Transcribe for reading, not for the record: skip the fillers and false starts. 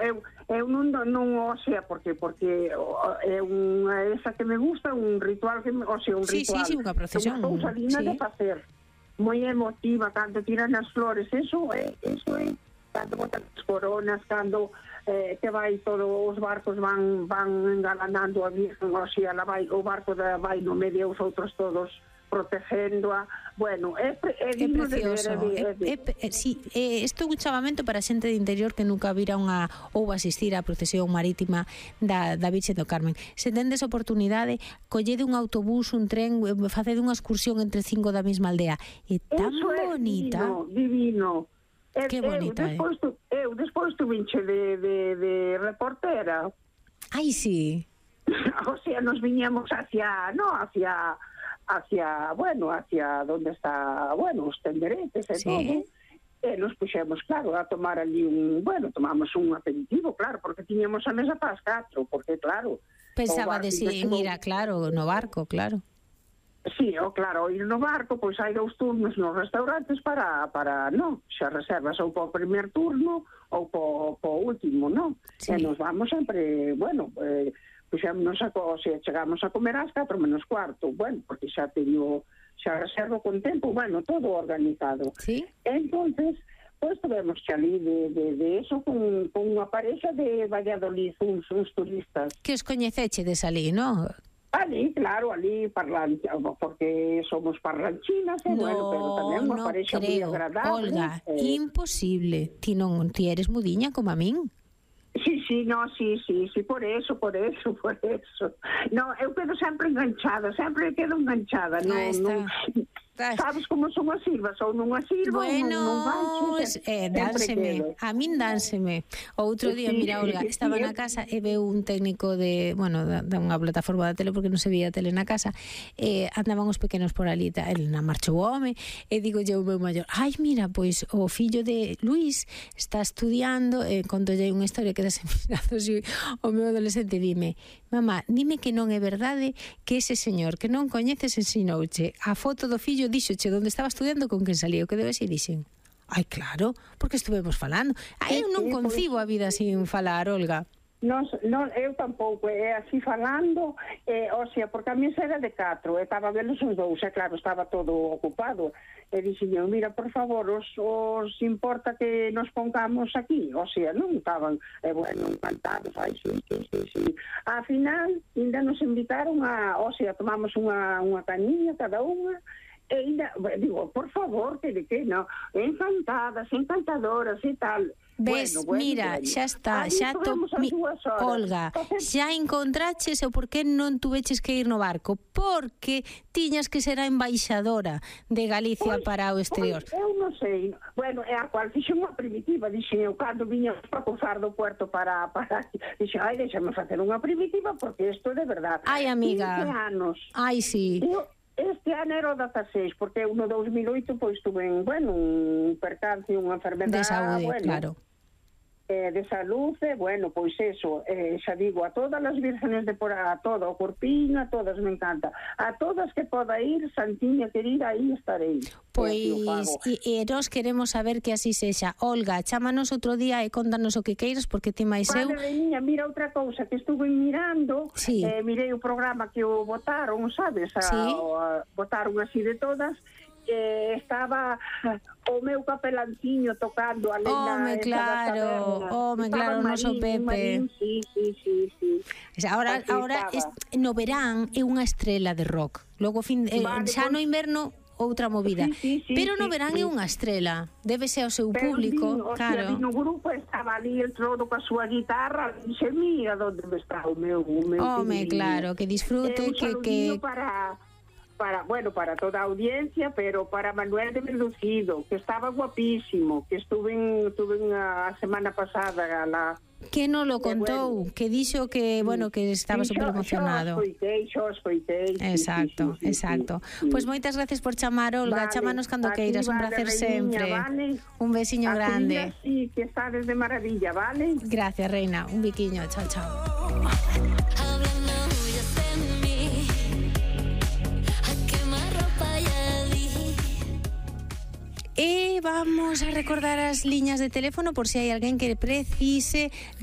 eu non, o sea, porque é esa que me gusta, un ritual que, o sea, un ritual. Sí, unha procesión. Unha cousa digna de facer. Moi emotiva, cando tiran as flores, eso é, cando botan as coronas, cando que vai todos os barcos van engalanando a Virgen, o sea, o barco vai no medio, os outros todos protegéndoa. Bueno, é digno de ver. Sí, isto é un chamamento para a xente de interior que nunca vira ou asistir á procesión marítima da Virxe do Carmen. Se tendes oportunidade, collede un autobús, un tren, facede unha excursión entre 5 da mesma aldea. É tan bonita. Divino. Que bonita, Eu despois tuvinche de reportera. Ai, sí. O sea, nos viñamos hacia donde está, os tenderetes e todo, e nos puxemos, claro, a tomar ali tomamos un aperitivo, claro, porque tiñamos a mesa para as 4, porque, claro... Pensaba de ir claro, no barco, claro. Sí, claro, ir no barco, pois hai 2 turnos nos restaurantes para xa reservas ou para o primer turno ou para o último, non? Sí. E nos vamos sempre, chegamos a comer ás 4 menos cuarto, porque xa reservo con tempo, todo organizado. Sí. Entonces, pois tivemos que ali de eso con unha parexa de Valladolid, uns turistas. Que os coñecechedes ali, non? Ali, claro, porque somos parlanchinas, pero tamén unha parexa moi agradable. Olga, imposible. Ti eres mudiña como a min. Sí, por eso. No, eu quedo sempre enganchada, sabes como son as silvas, ou non as silvas, non vanches. Dánseme, a min dánseme. Outro día, mira, Olga, estaba na casa e veu un técnico de unha plataforma da tele, porque non se veía tele na casa, andaban os pequenos por ali, na marcha o home, e digo eu meu maior, ai, mira, pois o fillo de Luís está estudiando, contolle unha historia que das mirando o meu adolescente, dime, mamá, dime que non é verdade que ese señor que non coñeces ensinouche a foto do fillo, díxoche onde estaba estudiando, con quen salía, o que debe ser, dixen, ai, claro, porque estuvemos falando. Eu non concibo a vida sin falar, Olga. Non, eu tampouco, así falando, o sea, porque a mí era de 4, estaba velos os 2, claro, estaba todo ocupado, e dixen, mira, por favor, os importa que nos pongamos aquí, o sea, non estaban, encantados, ai, sí. A final, ainda nos invitaron o sea, tomamos unha cañiña cada unha, e ainda, digo, por favor, que non, encantadoras e tal. Ves, mira, xa está, Olga, xa encontraches o por que non tuveches que ir no barco, porque tiñas que ser a embaixadora de Galicia para o exterior. Eu non sei, é a cual fixe unha primitiva, dixen eu, cando viña para cruzar do puerto para dixen, déxame facer unha primitiva, porque isto é de verdade. Ai, amiga, 15 anos. Ai, sí. Este ano era o 16, porque eu no 2008 pois tuve un percance, unha enfermedade de saúde, claro. De salud, pois eso, xa digo, a todas as vírgenes de por a todo o Corpiño, a todas me encanta, a todas que poda ir, Santiña querida, aí estarei. Pois, e nós queremos saber que así sexa. Olga, chámanos outro día e contanos o que queiras, porque ti máis eu... Niña, mira outra cousa que estuve mirando, mirei o programa que o botaron, sabes? Botaron así de todas, estaba o meu capelanciño tocando a lenda claro, o noso Pepe. Sí. Ahora no verán é unha estrela de rock. Logo xa no inverno outra movida, pero no verán é unha estrela, débese ao seu público, claro. No grupo estaba ali el todo coa súa guitarra, dixe, mira onde está o meu claro, que disfrute, que para toda a audiencia, pero para Manuel de Verducido, que estaba guapísimo, que estuve a semana pasada que non lo contou, que dixo que, que estaba super emocionado. Xo escoitei. Exacto. Pois moitas gracias por chamar, Olga, chámanos cando queiras, un placer sempre. Un besiño grande. Sí, que estades de maravilla, vale? Gracias, reina, un biquiño, chao. E vamos a recordar as liñas de teléfono por se hai alguén que precise